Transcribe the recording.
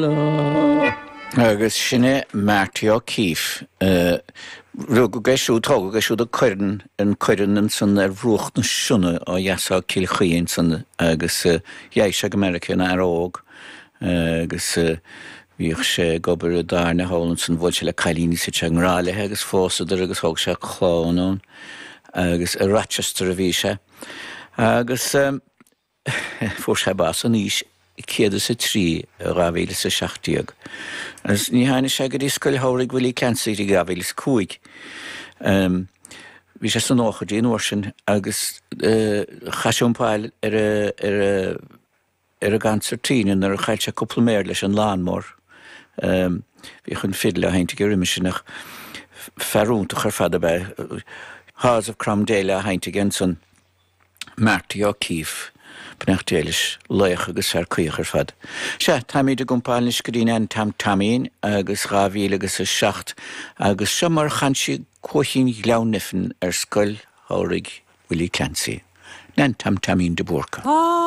Lá. Agus sin é Marty O'Keeffe. Rugadh é siúd, tógadh é siúd i Coirean, an Coirean ansan ar bhruach na Sionna ó dheas ó Cill Chaoi ansan agus dheachaigh sé go Meiriceá ina fhear óg agus bhíodh sé ag obair i dtábhairne thall ansan, bhuail sé le cailín is thit sé i ngrá léi agus phósadar agus thóg sé clann ann agus i Rochester a bhí sé agus. Fuair sé bás in aois 103 i 2017 agus ní tháinig sé go dtí Scoil Shamhraidh Willie Clancy go dtí 2005. Bhí sé sna nóchaidí an uair sin agus chaith sé iompáil ar ar an gconsairtín nuair a chaill sé cúpla méar leis an lawnmower. Bhíodh an fidil á sheinnt aige roimhe sin ach fear iontach ar fad ab ea é. Haws of Cromdale á sheinnt aige ansan. Marty O'Keeffe, beannacht Dé leis, laoch agus fear caoch ar fad. Sea, táimid ag iompáil anois go dtí Nan Tom Taimín agus 2000 agus 7 agus seo mar a chan sí Cuaichín Ghleann Nephin ar Scoil Shamhraidh Willie Clancy. Nan Tom Taimín de Búrca.